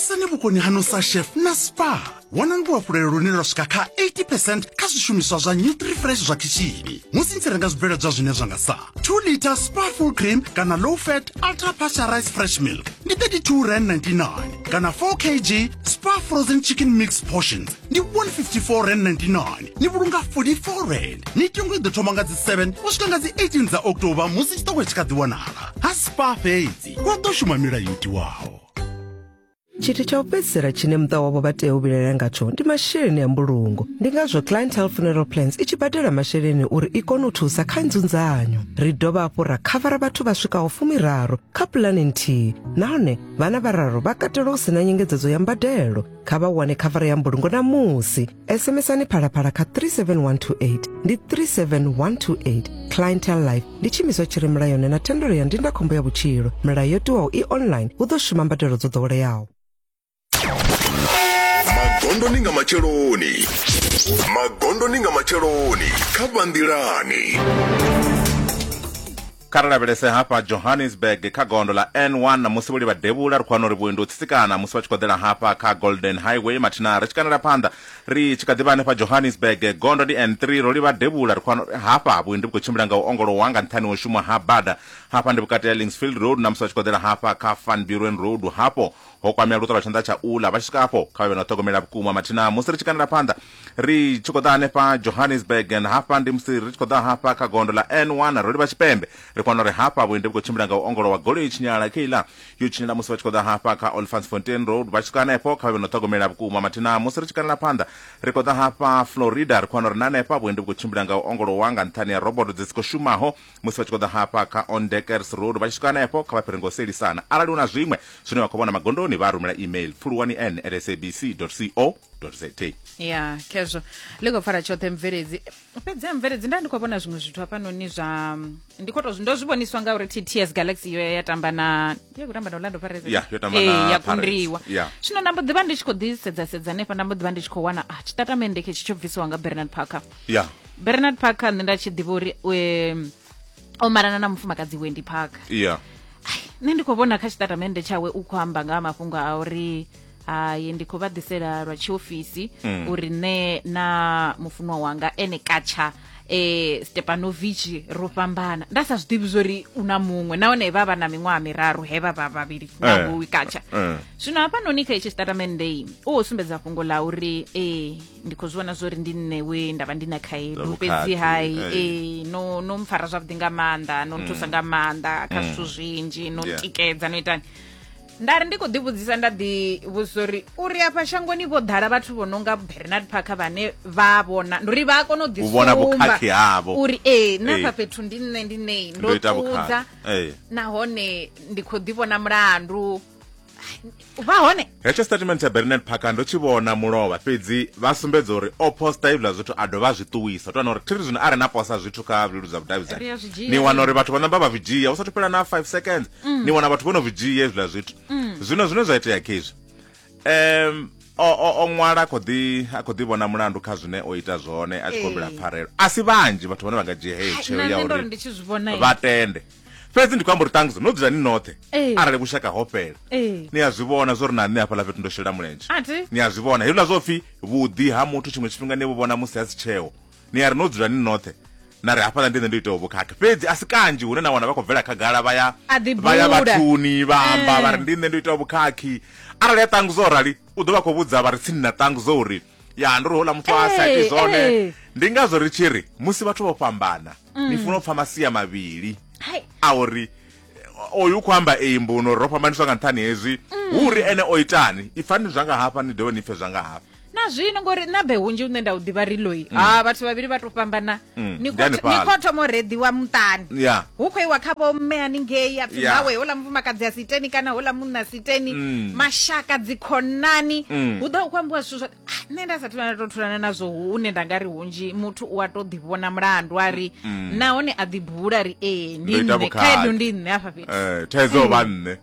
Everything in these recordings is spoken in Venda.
Khwinisani vhukoni haṋu sa chef na Spar. Wanani luhafhulelo lune lwa swika kha 80 percent kha zwishumiswa zwa Nutrifresh zwa khishini musi ni tshi renga zwibveledzwa zwine zwa nga sa 2 litre Spar full cream kana low fat ultra pasteurized fresh milk ndi 32 rand 99 kana 4 kg Spar frozen chicken mix portions ndi 154 rand 99. Ni vhulunga 44 rand. Mitengo i ḓo thoma nga dzi 7 u swika nga dzi 18 dza October musi tshiṱoko tshi kha ḓi wanala ha Spar fhedzi. Hu ḓo shuma milayo yo tiwaho. Tshithu tsha u fhedzisela tshine muṱa wavho vha tea u vhilaela ngatsho ndi masheleni a mbulungo. Ndi ngazwo Clientele Funeral Plans i tshi badela masheleni uri i kone u thusa kha nzunzanyo. Ri dovha hafhu ra khavara vhathu vha swikaho fumiraru kha pulane nthihi nahone vhana vhararu vha katelwa hu si na nyengedzedzo ya mbadelo. Kha vha wane khavara ya mbulungo ṋamusi. SMSani Phalaphala kha 37128 ndi 37128. Clientele Life ndi tshiimiswa tshi re mulayoni na thendelo ya ndindakhombo ya vhutshilo. Milayo yo tiwaho i online, hu ḓo shuma mbadelo dzo ḓoweleaho. Magondoni nga matsheloni. Magondoni nga matsheloni kha Vhanḓilani. Kha ri lavhelese hafha Johannesburg kha gondo ḽa N1 musi vho livha devhula ri khou wana uri vhuendi ho tsitsikana musi vha tshi khou ḓela hafha kha Golden Highway mathina ri tshi kandela phanḓa ri tshi kha ḓi vha hanefha Johannesburg gondo ndi N3 ro livha devhula ri khou wana uri hafha vhuendi vhu khou tshimbila nga u ongolowa nga nṱhani ho shumwa ha bada hafha ndi vhukati ha Linksfield Road na musi vha tshi khou ḓela hafha kha Van Buren Road hafho ho kwamea luṱa lwa tshanḓa tsha uḽa vha tshi swika hafho kha vha vhe na u ṱhogomela vhukuma mathina musi ri tshi kandela phanḓa Ri tshi khou ḓa hanefha Johannesburg and hafha ndi musi ri tshi khou ḓa hafha kha gondo ḽa N1 ro livha tshipembe. Ri khou wana uri hafha vhuendi vhu khou tshimbila nga u ongolowa goloi i tshinyala kheiḽa yo tshinyala musi vha tshi khou ḓa hafha kha Olifantsfontein Road vha tshi swika hanefho kha vha vhe na u ṱhogomela vhukuma mathina musi ri tshi kandela phanḓa ri khou ḓa hafha Florida ri khou wana uri na hanefha vhuendi vhu khou tshimbila nga u ongolowa nga nṱhani ha roboto dzi si khou shumaho musi vha tshi khou ḓa hafha kha Ondekers Road vha tshi swika hanefho kha vha fhire nga u sielisana arali hu na zwiṅwe zwine vha khou vhona magondoni vha rumela email pfuluwani n at sabc co za. Ya khezwo ḽi khou pfala tshoṱhe mubveledzi fhedzi ha mubveledzi nda ndi khou vhona zwiṅwe zwithu hafhanoni zwa ndi khou tou ndo zwi vhoniswa nga uri TTS Galaxy yo ya tamba na ya khou tamba na Orlando Pirates Ya, yo tamba Eh, na ya Pirates. kundiwa Ya. zwino nda mbo ḓi vha ndi tshi khou ḓi sedza sedza hanefha nda mbo ḓi vha ndi tshi khou wana ah tshitatamennde khetshi tsho bvisiwa nga Bernard Parker ya Bernard Parker nṋe nda tshi ḓivha uri um, o malana na mufumakadzi Wendy Parker ya nṋe ndi khou vhona kha tshitatamennde tshawe u khou amba nga ha mafhungo a uri hai ndi khou vha ḓisela lwa tshiofisi mm. uri nṋe na mufunwa wanga ene katsha eh Stepanovic ro fhambana nda sa zwi ḓivhi zwori u na muṅwe nahone vha vha na miṅwaha miraru he vha vha vhavhili na eh, katsha eh. Zwino hafhanoni kha itshi tshitatamennde u ho sumbedza fhungo ḽa uri eh ndi khou zwi vhona zwori ndi nṋe we nda vha ndi na khaedu fhedzi hai eh no no mpfara zwavhuḓi nga maanḓa no nthusa nga maanḓa kha zwithu zwinzhi no ntikedza no itani Nda ri ndi khou ḓivhudzisa nda ḓivhudzisa uri uri afha shangoni vho ḓala vhathu vho no nga Bernard Parker vhane vha vhona ndi uri vha a kona u U vhona ḓisumba vhukhakhi havho. uri ee na Ee. afha fhethu ndi nṋe ndi nṋe ndo Ndo ita ṱudza vhukhakhi. Ee. nahone ndi khou ḓivhona mulandu vha hone Hetsho statement tsha Bernard Parker ndo tshi vhona mulovha fhedzi vha sumbedza uri o posta hezwiḽa zwithu a dovha a zwi ṱuwisa. Tou wana uri thiri zwino arali na posa zwithu kha vhuleludzi ha Ri a vhudavhidzani zwi dzhia ni wana uri vhathu vha namba vha zwi dzhia hu sathu fhela na 5 seconds ni wana vhathu vho no zwi dzhia hezwiḽa zwithu. Zwino zwine zwa itea khezwi um o o o ṅwala a khou ḓi a khou ḓi vhona mulandu kha zwine o ita zwone a tshi khou humbela Ee. pfarelo. A si vhanzhi vhathu vhane vha nga dzhia heyo Hai, tsheo na ya nṋe ndo ri uri ndi tshi zwi vhona vha tende. Fhedzi ndi khou amba uri ṱhangiso no dzula ni noṱhe Ee. arali vhushaka ho fhela Ee. ni a zwi vhona zwo ri na nṋe hafhaḽa fhethu ndo shela mulenzhe A thi? ni a zwi vhona hezwiḽa zwo pfhi vhuḓi ha muthu tshiṅwe tshifhinga ni vhu vhona musi a si tsheo ni a ri no dzula ni noṱhe na ri hafhaḽa ndi nṋe ndo itaho vhukhakhi fhedzi a si kanzhi hune na wana vha khou bvela khagala vha ya A ḓi vha ya bula. vhathuni vha amba Eh. vha ri ndi nṋe ndo itaho vhukhakhi arali a ṱanguza o rali u ḓo vha khou vhudza vha re tsini na ṱanguza uri ya ndo ri houḽa muthu a sa iti Ee, zwone ee. ndi ngazwo ri tshi ri musi vhathu vho fhambana ni funa u pfa masia mavhili Hai. a uri oyu u khou amba eyi mbuno ro fhambaniswa nga nṱhani hezwi hu uri ene o itani ipfani zwa nga hafha ni dovhe ni pfe zwa nga hafha na zwino ngori na be hunzhi une nda u ḓivha ri loi ha vhathu vhavhili vha to fhambana ni Ndi khou ni hanefhaḽa. khou thoma u reḓiwa muṱani Ya. hu khou iwa kha vho mme haningei a pfi Ya. hawe houḽa mufumakadzi a si iteni kana houḽa munna a si iteni mashaka dzikhonani hu ḓa hu khou ambiwa zwithu zwa Ah, nṋe nda sa thulana to thulana nazwo hune nda nga ri hunzhi muthu u a to ḓivhona mulandu a ri nahone a ḓibula ri ee ndi Ndo ita nṋe vhukhakhi. khaedu ndi nṋe hafha fhethu Eh, thaidzo vha nṋe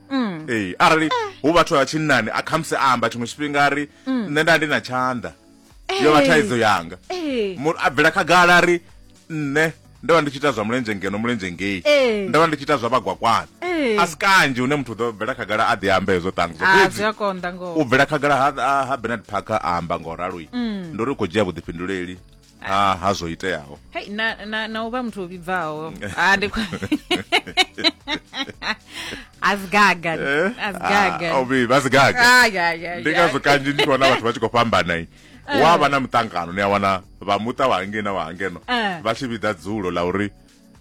ee arali hu vhathu vha tshinnani a khamusi a amba tshiṅwe tshifhinga a ri nṋe nda ndi na tshanḓa yo vha thaidzo yanga Ee. Mu- a bvela khagala a ri nṋe ndo vha ndi tshi ita zwa mulenzhe ngeno mulenzhe ngei Ee. ndo vha ndi tshi ita zwa vhagwakwana Ee. Eh. A si kanzhi hune muthu u ḓo bvela khagala a ḓi amba hezwo ṱangzo. Ah, Fhedzi zwi a konḓa ngoho. u bvela khagala ha, ha, ha Bernard Parker a amba ngo ralo ndi uri u khou dzhia vhuḓifhinduleli ha, ha zwo iteaho. Hei, na, na, na u vha muthu o vhibvaho Ah, ndi asigaga asigaga Ah, o vhibva, a si gaga. Ai, ai, ai, Ndi ngazwo ai. kanzhi ndi tshi wana vhathu vha tshi khou fhambana i. Wa vha na muṱangano ni a wana vha muṱa wa hangei na wa hangeno Eh. vha tshi vhidza dzulo ḽa uri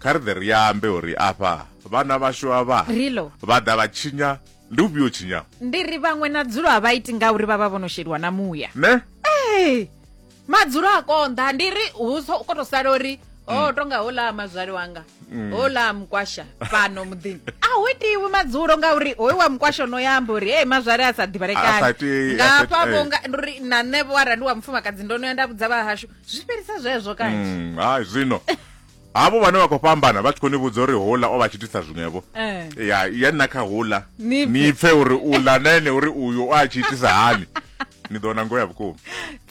kha ri ḓe ri ambe uri afha vhana vhashu avha Rilo. vha ḓa vha tshinya ndi ufhio tshinya ndi ri vhaṅwe na dzulo a vha iti ngauri vha vha vho no sheliwa na muya ne Ee, madzulo a konḓa ndi ri hu so- ko to sala uri o tonga houḽa mazwale wanga houḽa mukwasha fhano muḓini a hu itiwi madzulo ngauri hoyu wa mukwasha no ya amba uri hey mazwale a sa A sa ḓivhalekani iti- a sa ngafha iti- vho eh. nga ndi uri na nṋe vho arali ndi wa mufumakadzi ndo no ya nda vhudza vhahashu zwi fhelisa zwezwo kanzhi Hai zwino havho vhane vha khou fhambana vha tshi khou ni vhudza uri houḽa o vha tshi itisa zwiṅwevho Eh. ya ya nna kha houḽa Ni pfe. ni pfe uri uḽa na ene uri uyu o a tshi itisa hani ni ḓo wana ngoho ya vhukuma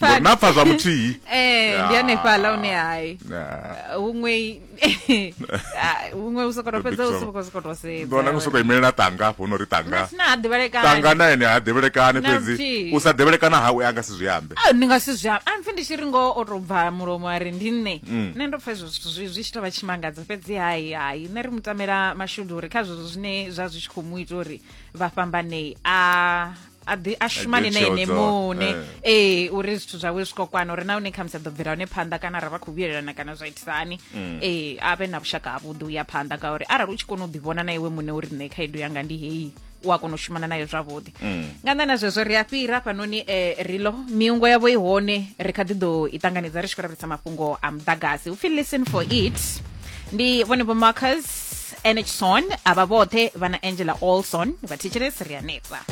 ngori na pfa zwa muthihi Eh, ndi hanefhaḽa hune hai Ya. huṅwe ah, huṅwe u sokoto Big fhedza u trouble. soko sokoto Ni ḓo wana sedza ni sokou imelela tanga hafho no ri tanga sina ha ḓivhalekani tanga na ene ha ḓivhelekani Na fhedzi luthihi. u sa ḓivhelekana hawe a nga si zwi ambe Ah, ndi nga si zwi amba a mpfi ndi tshi ri ngoho o tou bva mulomo a ri ndi nṋe nṋe ndo pfa hezwo zwithu zwi zwi tshi tou vha tshimangadzo fhedzi hai hai nṋe ri mu tamela mashudu uri kha zwezwo zwine zwa zwi tshi khou mu ita uri vha fhambanei a a ḓi a shumane na tsheo ene dzo- muṋe eh. ee uri zwithu zwawe zwi khou kwana uri na hune khamusi a ḓo bvela hone phanḓa kana ra vha khou vhuyelelana kana zwa itisa hani ee a vhe na vhushaka havhuḓi u ya phanḓa ngauri arali u tshi kona u ḓivhona na iwe muṋe uri nṋe khaedu yanga ndi heyi u a kona u shumana nayo zwavhuḓi nga nnḓa na zwezwo ri a fhira hafhanoni rilo miungo yavho i hone ri kha ḓi ḓo i ṱanganedza ri tshi khou lavhelesa mafhungo a muḓagasi upfhi listen for it ndi vhone vho Marcus Enchson avha vhoṱhe vha na Angela Olson vha thetshelesi ri hanefha.